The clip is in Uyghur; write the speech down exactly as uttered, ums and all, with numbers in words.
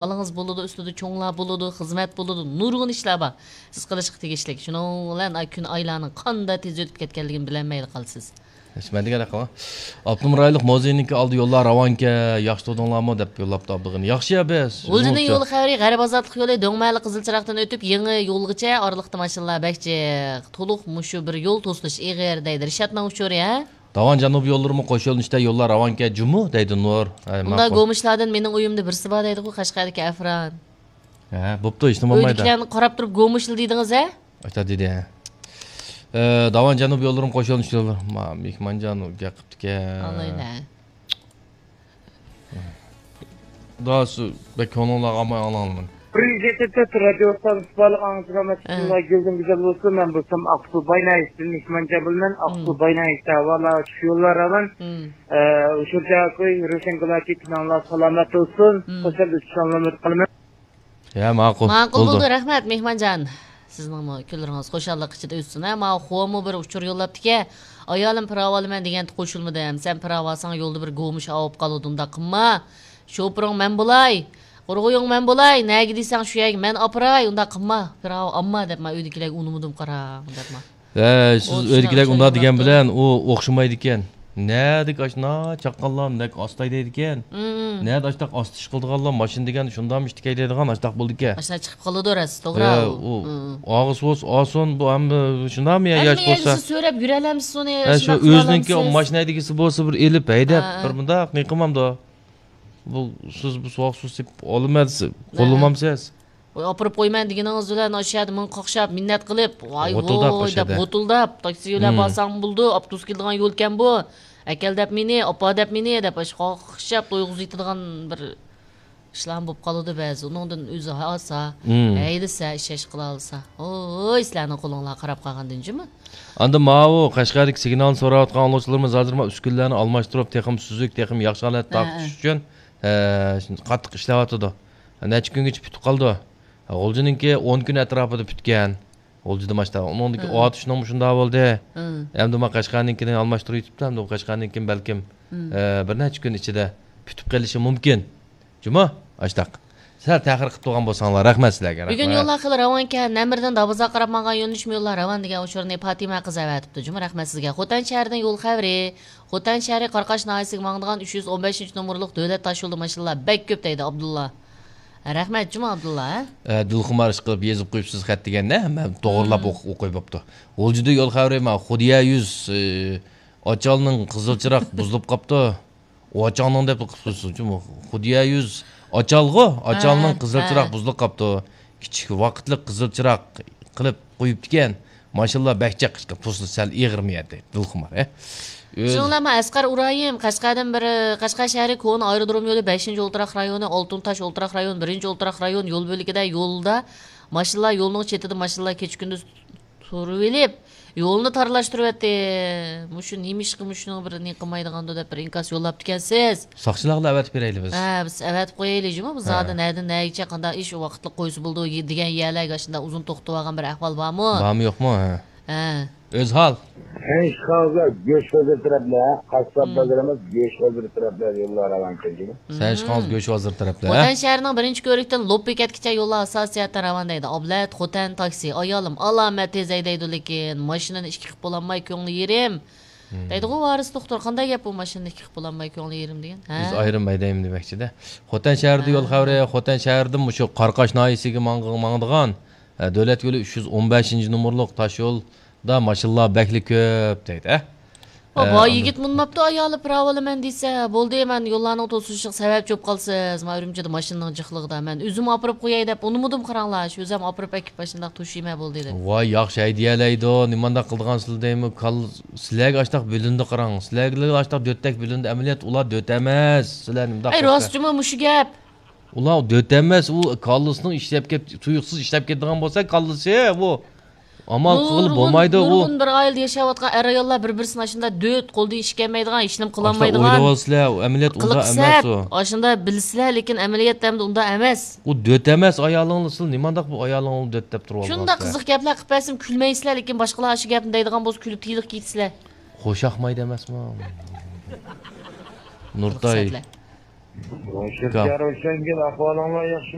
بالىڭىز بولىدۇ، ئۈستىدە چوڭلار بولىدۇ، خىزمەت بولىدۇ، نۇرغۇن ئىشلار بار سىز قىلىشقا تېگىشلىك. شۇنىڭ بىلەن ئاي كۈن ئايلارنىڭ قانداق تېز ئۆتۈپ كەتكەنلىكىنى بىلەلمەيلا قالىسىز. ھېچ مەن دېگەن ھەققىڭ. ئاپتونوم رايونلۇق مۇزېينىڭكى ئالدى يوللار راۋانكەن، ياخشى تۇردۇڭلارمۇ دەپ يوللاپتۇ ئابدۇغېنى. ياخشى يا بەس. غۇلجىنىڭ يول خەۋىرى غەرب ئازادلىق يولى دۆڭمەھەللە قىزىل چىراغدىن ئۆتۈپ يېڭى يولغىچە ئارىلىقتا ماشىنىلار بەك جىق. تولۇق مۇشۇ بىر يول توسۇلۇش ئېغىر دەيدۇ. رىشاتنىڭ ئۇچۇرى ھە؟ داۋان جەنۇبىي يوللىرىمۇ قوش يولنىڭ ئىچىدە يوللار راۋانكەن جۇمۇ دەيدۇ نۇر. ھەي، ئۇنداق ماقۇل. گومۇشلاردىن مېنىڭ ئۆيۈمدە بىرسى بار دەيدىغۇ قەشقەردىكى ئەفران. ھە، بوپتۇ، ھېچنېمە بولمايدۇ. ئۆيدىكىلەرنى قاراپ تۇرۇپ گومۇشلا دېدىڭىز ھە؟ ئاشتا دېدى ھە. ئە، داۋان جەنۇبىي يوللىرىمۇ قوش يولنىڭ ئىچىدە يوللار. ما، مېھمانجان گەپ قىپتىكەن. ئالايلە. داسۇ، بەك كۆڭلۈڭلارغا ئالماي ئاڭلاڭلىمەن. بىر يۈز يەتتە تۆت رادىيو ئىستانسىسى بارلىق ئاڭلىغۇچىلار مەسىلىسىنىڭ گۈلدىن گۈزەل بولسۇن. مەن بولسام ئاقسۇ باينايىستىن مېھمانجان بولىمەن. ئاقسۇ باينايىستە ھاۋالار چۈش يوللار راۋان. ئە، ئۇچۇر جاكۇي، روشەن گۇلاكى، كۈنۈڭلار سالامەت بولسۇن. خوشال ئۆتۈشۈڭلارنى ئۈمىد قىلىمەن. يا، ماقۇل. ماقۇل بولدى. بولدى، رەھمەت، مېھمانجان. سىزنىڭمۇ كۈنلىرىڭىز خۇشاللىق ئىچىدە ئۆتسۇن، ھە. ماۋۇ خومۇ بىر ئۇچۇر يوللاپتىكەن. ئايالىم پىراۋالىمەن دېگەنتى قوشۇلمىدىم. سەن پىراۋالساڭ يولدا بىر گومۇش ئاۋۇپ قالىدۇ، ئۇنداق قىلما. شوپۇرۇڭ مەن بولاي. قۇرغۇيۇڭ مەن بولاي. نەگە دېسەڭ شۇ يەرگە مەن ئاپىراي، ئۇنداق قىلما. پىراۋا ئامما دەپما ئۆيدىكىلەرگە ئۇنىمىدىم قاراڭ دەپما. ھە، سىز ئۆيدىكىلەرگە ئۇنداق دېگەن بىلەن ئۇ ئوخشىمايدىكەن. نەدىكى ئاشۇنداق چاققانلار مۇنداق ئاستا ھەيدەيدىكەن. نەدە ئاشتاق ئاستا ئىش قىلىدىغانلار ماشىنا دېگەن شۇنداقمۇ ئىشتىك ھەيدەيدىغان ئاشتاق بولىدىكەن. ئاشۇنداق چىقىپ قالىدۇ راست، توغرا. ھە، ئۇ ئاغىسى بولسا ئالسۇن، بۇ ھەممە شۇنداقمۇ يا ياش بولسا. ھەممە يەرگە سۆرەپ يۈرەلەمسىز ئۇنى، ھە، شۇ ئۆزىنىڭكى ماشىنا ھەيدىگۈسى بولسا بىر ئېلىپ ھەيدەپ، بىر مۇنداق نېقىمامدۇ. بۇ سىز بۇ سوغۇق سۇ سېپىپ ئالىمەن دېسە، قوللىمامسىز؟ ۋاي، ئاپىرىپ قويىمەن دېگىنىڭىز بىلەن ئاشۇ يەردە مىڭ قاقشاپ، مىننەت قىلىپ، ۋاي ۋوي دەپ غوتۇلداپ، تاكسى بىلەن بارساڭ بولىدۇ، ئاپتوبۇس كېلىدىغان يولكەن بۇ، ئەكەل دەپ مېنى، ئاپا دەپ مېنى دەپ ئاشۇ قاقشاپ تويغۇزۇۋېتىدىغان بىر ئىشلارمۇ بولۇپ قالىدۇ بەزى. ئۇنىڭدىن ئۆزى ھاسا، ھەيدىسە، ئىشەش قىلالىسا. ۋوي، سىلەرنىڭ قولۇڭلار قاراپ قالغاندىن جۇمۇ. ئاندىن ماۋۇ قەشقەردىكى سىگنالنى سوراۋاتقان ئاڭلىغۇچىلىرىمىز ھازىر مانا ئۈسكۈنىلەرنى ئالماشتۇرۇپ، تېخىمۇ سۈزۈك، تېخىمۇ ياخشى ھالەتتە تارقىتىش ئۈچۈن، ئە، قاتتىق ئىشلەۋاتىدۇ. نەچچە كۈنگىچە پۈتۈپ قالىدۇ. غۇلجىنىڭكى ئون كۈن ئەتراپىدا پۈتكەن. غۇلجىدا ماشتا. ئۇنىڭدىكى ئاتۇشنىڭمۇ شۇنداق بولدى. ئەمدى ما قەشقەرنىڭكىنى ئالماشتۇرۇپ يېتىپتۇ. ئەمدى بۇ قەشقەرنىڭكىمۇ بەلكىم، ئە، بىر نەچچە كۈن ئىچىدە پۈتۈپ قېلىشى مۇمكىن. جۇمۇ، ئاشتاق. سەل تەخىر قىلىپ تۇرغان بولساڭلار، رەھمەت سىلەرگە، بۈگۈن رەھمەت. يوللار خېلى راۋانكەن، نەمردىن دابازاغا قاراپ ماڭغان يۆنىلىشمۇ يوللار راۋان دېگەن ئۇچۇرنى پاتىمە قىز ئەۋەتىپتۇ. جۇمۇ، رەھمەت سىزگە. خوتەن شەھىرىدىن يول خەۋىرى. خوتەن شەھىرى قاراقاش ناھىيەسىگە ماڭىدىغان ئۈچ يۈز ئون بەشىنچى نومۇرلۇق دۆلەت تاشيولىدا ماشىنىلار بەك كۆپ دەيدۇ ئابدۇللا. رەھمەت جۇمۇ ئابدۇللا، ھە؟ ئە، دىلخۇمار ئىشقىلىپ يېزىپ قويۇپسىز خەت دېگەندە، مەن توغرىلاپ ئوق-، ئوقۇي بوپتۇ. غۇلجىدا يول خەۋىرى، مانا، خۇدىيە يۈز، ئە، ئاچالنىڭ قىزىل چىراغ بۇزۇلۇپ قاپتۇ. ئۇ ئاچالنىڭ دەپ قىلىپسىز جۇمۇ. خۇدىيە يۈز ئاچالغۇ، ئاچالنىڭ قىزىل چىراغ بۇزۇلۇپ قاپتۇ. كىچىك ۋاقىتلىق قىزىل چىراغ قىلىپ قويۇپتىكەن. ماشىنىلار بەك جىق، پۇرسىتى سەل ئېغىرمۇ يەتتى، دىلخۇمار، ھە؟ ئۆز شۇڭلارمۇ ئەسقەر ئۇرايىم، قەشقەردىن بىر، قەشقەر شەھىرى كونا ئايرودروم يولى، بەشىنچى ئولتۇراق رايونى، ئالتۇن تاش ئولتۇراق رايون، بىرىنچى ئولتۇراق رايون يول بۆلىكىدە يولدا ماشىنىلار يولنىڭ چېتىدە ماشىنىلار كېچە كۈندۈز تۇرۇۋېلىپ، يولنى تارلاشتۇرۇۋەتتى. مۇشۇ نېمىشقا مۇشۇنىڭ بىر نېمە قىلمايدىغاندۇ دەپ بىر ئىنكاس يوللاپتىكەنسىز. ساقچىلارغا ئەۋەتىپ بېرەيلى بىز. ھە، بىز ئەۋەتىپ قويايلى جۇمۇ. بۇ زادى نەدىن نەگىچە قانداق ئىش ۋاقىتلىق قويسا بولىدۇ دېگەن يەرلەرگە ئاشۇنداق ئۇزۇن توختىۋالغان بىر ئەھۋال بارمۇ؟ بارمۇ يوقمۇ؟ ھە. ھە. ئۆزھال. سەن ئىشقىڭىزدا گۆش ھازىر تەرەپلەر، قاسساپ بازىرىمىز گۆش ھازىر تەرەپلەر يوللار راۋان كەلگىنى. سەن ئىشقىڭىز گۆش ھازىر تەرەپلەر، ھە؟ خوتەن شەھىرىنىڭ بىرىنچى كۆۋرۈكتىن لوپ بېكەتكىچە يوللار ئاساسىي جەھەتتىن راۋان دەيدۇ. ئابلەت، خوتەن تاكسى، ئايالىم، ئالامەت تېز ھەيدەيدۇ، لېكىن ماشىنىنى ئىككى قىلىپ بولالماي كۆڭلى يېرىم. دەيدىغۇ ۋارىس دوختۇر، قانداق گەپ بۇ ماشىنىنى ئىككى قىلىپ بولالماي كۆڭلى يېرىم دېگەن؟ ھە؟ يۈز ئايرىم ھەيدەيمەن دېمەكچىدە. خوتەن شەھىرىدە يول خەۋىرى، خوتەن شەھىرىدىن مۇشۇ قاراقاش ناھىيەسىگە ماڭ-، ماڭىدىغان، ئە، دۆلەت يولى ئۈچ يۈز ئون بەشىنچى نومۇرلۇق تاش يولدا ماشىنىلار بەكلا كۆپ دەيدۇ، ھە؟ ئە، بابا ئاندىن يىگىت مۇنماپتۇ، ئايالى پىراۋالىمەن دېسە، بولدى، مەن يوللارنىڭ توسۇلۇشىغا سەۋەبچى بولۇپ قالىسىز، مانا ئۈرۈمچىدە ماشىنىنىڭ جىقلىقىدا مەن ئۆزۈم ئاپىرىپ قوياي دەپ ئۇنىمىدىم، قاراڭلار، شۇ ئۆزۈم ئاپىرىپ ئەكىپ ماشىنىدا توشۇيمەن بولدى دەپ. ۋاي، ياخشى ھەيدىيەلەيدۇ، نېمانداق قىلىدىغان سىلەر دەيمۇ، كال-، سىلەرگە ئاشتاق بۆلۈندى قاراڭ، سىلەرگە ئاشتاق دۆتتەك بۆلۈندى، ئەمەلىيەت ئۇلار دۆت ئەمەس، سىلەر نېمىنداق ئەي، راست جۇمۇ مۇشۇ گەپ. ئۇلار دۆت ئەمەس، ئۇ كاللىسىنىڭ ئىشلەپ كەت-، تۇيۇقسىز ئىشلەپ كېتىدىغان بولسا كاللىسى، ئۇ ئامال قىلغىلى بولمايدۇ، ئۇ. نۇرغۇن بىر ئائىلىدە ياشاۋاتقان ئەر-ئاياللار بىر-بىرسىنى ئاشۇنداق دۆت، قولىدىن ئىش كەلمەيدىغان، ھېچنېمە قىلالمايدىغان. ئاشۇنداق ئويلىۋالسىلەر، ئۇ ئەمەلىيەت ئۇنداق ئەمەس ئۇ. ئاشۇنداق بىلسىلەر، لېكىن ئەمەلىيەتتە ئەمدى ئۇنداق ئەمەس. ئۇ دۆت ئەمەس، ئايالىڭلار سىلەر نېمانداق بۇ ئايالىڭلارنى دۆت دەپ تۇرۇۋالغانسىلەر؟ شۇنداق قىزىق گەپلەر قىلىپ بەرسەم كۈلمەيسىلەر، لېكىن باشقىلار ئاشۇ گەپنى دەيدىغان بولسا كۈلۈپ تىلىق كېتىسىلەر. خوشاقمايدۇ ئەمەسمۇ؟ نۇرتاي. روشەن ئاكام. روشەنگۈل، ئەھۋالىڭلار ياخشى؟